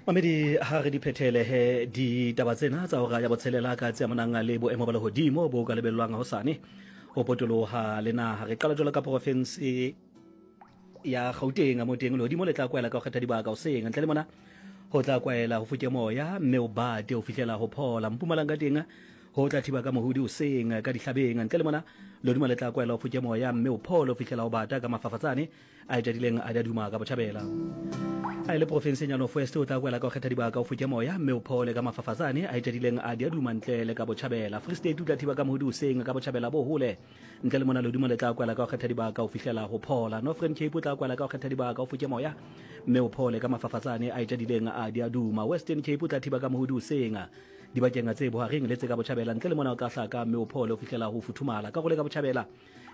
Mamedi ha re di phethele he ditaba tsena tsa hora ya botshelela ka tse amanang le boemo ba lehodimo bo ka lebellwang hosane ho potoloha le naha. Re qala jwalo ka porofense ya Gauteng mo teng lehodimo le tla kwaela ka ho kgetha dibaka hoseng ntle le mona ho tla kwaela ho foke moya mme o bate ho fihlela ho phola. Mpumalanga teng ho tla thiba ka mohudi hoseng ka dihlabeng ntle le mona lehodimo le tla kwaela ho foke moya mme o phole ho fihlela ho bata ka mafafatsane a etšadileng a di a duma ka botšhabela. A e le profenseng ya North West o tla kwela ka go kgetha dibaka o foke moya mme o phole ka mafafatsane a etšadileng a di a duma ntle le ka botšhabela. Free State o tla thiba ka mohodi hoseng ka botšhabela bo hole ntle le mona lehodimo le tla kwela ka go kgetha dibaka o fihlela go phola. Northern Cape o tla kwela ka go kgetha dibaka o foke moya mme o phole ka mafafatsane a etšadileng a di a duma. Western Cape o tla thiba ka mohodi hoseng dibakeng tse bohareng le tse ka botšhabela ntle le mona o tla hlaka mme o phole o fihlela go futhumala. Karolo e ka botšhabela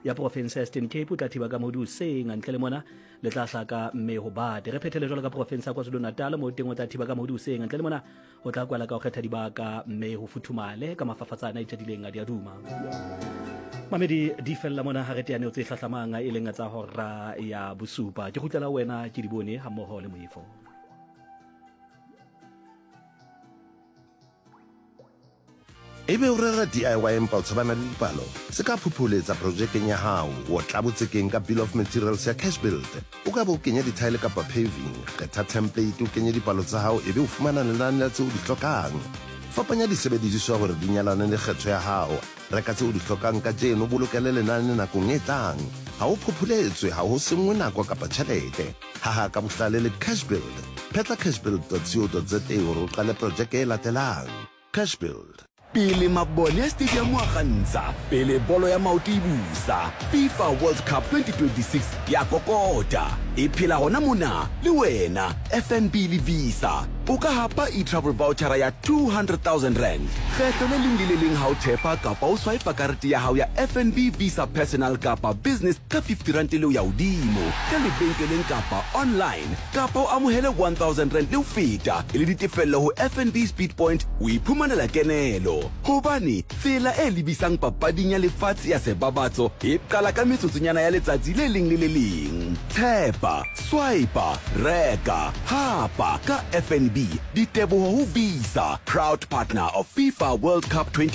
ya porofense ya Eastern Cape o tla thiba ka modu seng ntle le mona le tla hlaka mme ho bate. Re phethele jwalo ka porofense ya KwaZulu-Natal mo teng o tla thiba ka modu seng ntle le mona o tla kwala ka ho kgetha dibaka mme ho futhumale ka mafafatsane a itjadileng a diaduma. Mamedi di fella mona ha re teane tse hlahlamang e leng tsa hora ya bosupa. Ke kgutlela wena ke di bone ha mmoho le moifo. Ebe o rera DIY empa o tshabana le dipalo? Se ka phopholetsa projekeng ya hao. Otla botsekeng ka Bill of Materials ya Cashbuild. O ka be o kenya dithaele kapa paving. Kgetha template o kenye dipalo tsa hao ebe o fumana lenane la tseo o di hlokang. Fapanya disebediswa hore di nyalane le kgetho ya hao. Reka tse o di hlokang kajeno o bolokele lenane nakong e tlang. Ha o phopholetswe, ha ho senngwe nako kapa tjhelete. Haha ka bohlale le Cashbuild. Phetla cashbuild.co.za hore o qale projeke e latelang. Cashbuild. Pele mabone a stadium a kgantsha, pele bolo ya maoto e busa, FIFA World Cup 2026 ya kokota. E phela gona mona le wena, FNB le Visa. O ka hapa e-travel vouchera ya R200 000 kgetlo le leng le le leng ha o thepa kapa o swipa karete ya hao ya FNB Visa Personal kapa Business ka R50 le ho ya hodimo ka lebenkeleng kapa online. Kapa o amohele R1000 le ho feta e le ditefello ho FNB Speedpoint o iphumanela kenelo. Hobane tsela e lebisang papading ya lefatshe ya sebabatso e qala ka metsotsonyana ya letsatsi le leng le le leng. Tshepa, swipa, reka, hapa ka FNB. Diteboho ho Visa, proud partner of FIFA World Cup 2026.